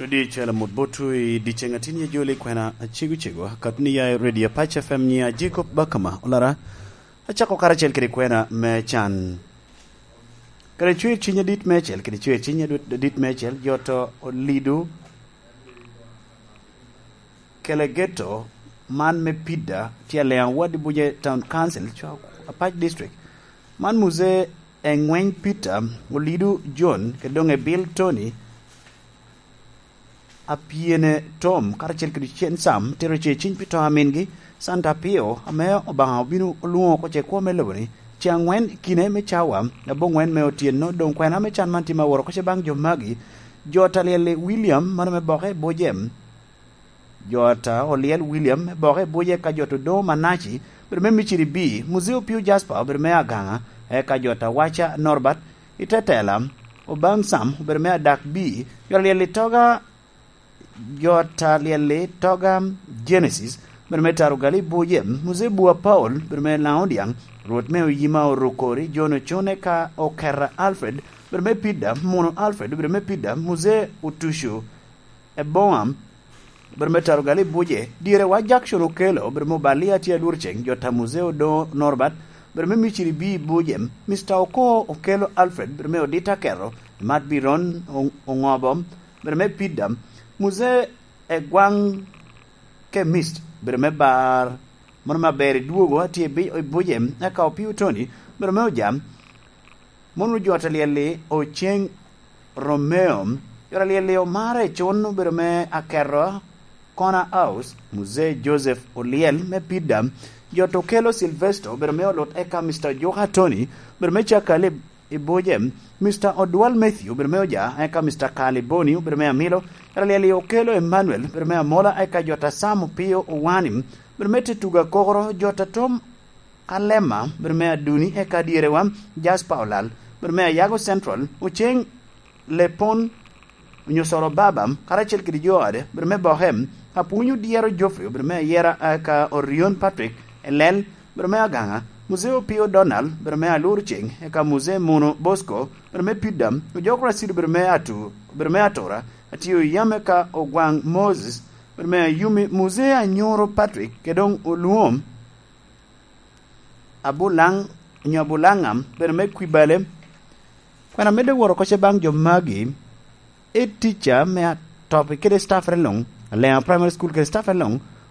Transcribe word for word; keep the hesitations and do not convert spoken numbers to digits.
Di cwela mot botwu i dyeceŋ atin ye joli kwena acego cego, kat ni ya i Radio Pac F M nyiŋa Jacob Bakama Olara. Acako karacel kede kwena me can. Kede cwer ciny adit meicel, kede cwer ciny adit meicel, jo to olido kele geto man me Pida tye Aleŋ Ward i Buje Town Council, Apac District. Man Muse Eŋweny Peter, Olido John, kede doŋ Ebil Tony, Apyene Tom, karacel kede Cen Sam, tero ce ciny pi to a mingi, Santa Pio, ame Obaŋa obino olwoŋo oko ce kwo me lobo-ni, ce aŋwen i kine me cawa, aboŋwen me otyeno, doŋ kwena me can man tye ma woro oko ce baŋ jo magi, jo ta lyel-li William, mano me boke i Bujem, jo ta olyel William, me boke i Buje ka jo ta Odoŋo Manaci, obedo me Miciri B, Muzee Opio Jasper, obedo me Agaŋa, eka jo ta Waca Norbert, i te tela, Obaŋ Sam, obedo me Adak B, jo ta lyel-li Toga, jo ta lyel-li Toga Genesis, obedo me Tarugali Buje, Muzee Bua Paul, obedo me Laŋo Dyaŋ, Rwot me Oyima Orukori, John Ocone ka Okera Alfred, obedo me Pida, Muno Alfred, obedo me Pida, Muzee Otucu, Eboŋam, obedo me Tarugali Buje, dyere wa Jackson Okello, obedo me Obalia tye Alurceng, jo ta Muzee Odoŋo Norbert, obedo me Miciri B Buje, Mister Oko Okello Alfred, obedo me Odita Keto, Mat Biron O-, Oŋobo, obedo me Pida, Muzee Egwaŋ Kemist, obedo me Bar, mano me Aber i Dwogo, atye i Bi-, i Buje, eka Opio Tony, obedo me Ojam, Mono jo ta lyel-li Oceŋ Romeo, jo ta lyel-li Omare Cun, obedo me Akerwa, Corner House, Muzee Joseph Olyel me Pida, jo ta Okello Silvesto, obedo me Olut, eka Mister Ojuka Tony, obedo me Cakali i Buje, Mister Odwal Matthew, obedo me Oja, eka Mister Kali Boni, obedo me Amilo, jo ta lyel-li Okello Emmanuel, obedo me Amola, eka jo ta Sam Opio Owani, obedo me Tetuga Kokoro, jo ta Tom Alema, obedo me Aduni, eka dyerewa, Jasper Olal, obedo me Ayago Central, Oceŋ Lepon, Onyosoro Baba, karacel kede jo ode, obedo me Bohem, Apwony Odyero Geoffrey, obedo me Ayera, eka Orion Patrick, Elel, obedo me Agaŋa, Muzee Opio Donald, obedo me Alur Ceng, eka Muzee Muno Bosco, obedo me Pida, Ojok Racid, obedo me Atu, obedo me Atura, Atiyo Yam, eka Ogwaŋ Moses, obedo me Ayumi, Muzee Anyoro Patrick, kede doŋ Olwom, Abulaŋ, onyo Abulaŋam, obedo me Kwibale. Kwena medde woro oko ce baŋ jo magi, head teacher me Atopi kede staff-re luŋ, Aleŋa Primary School kede staff-re luŋ,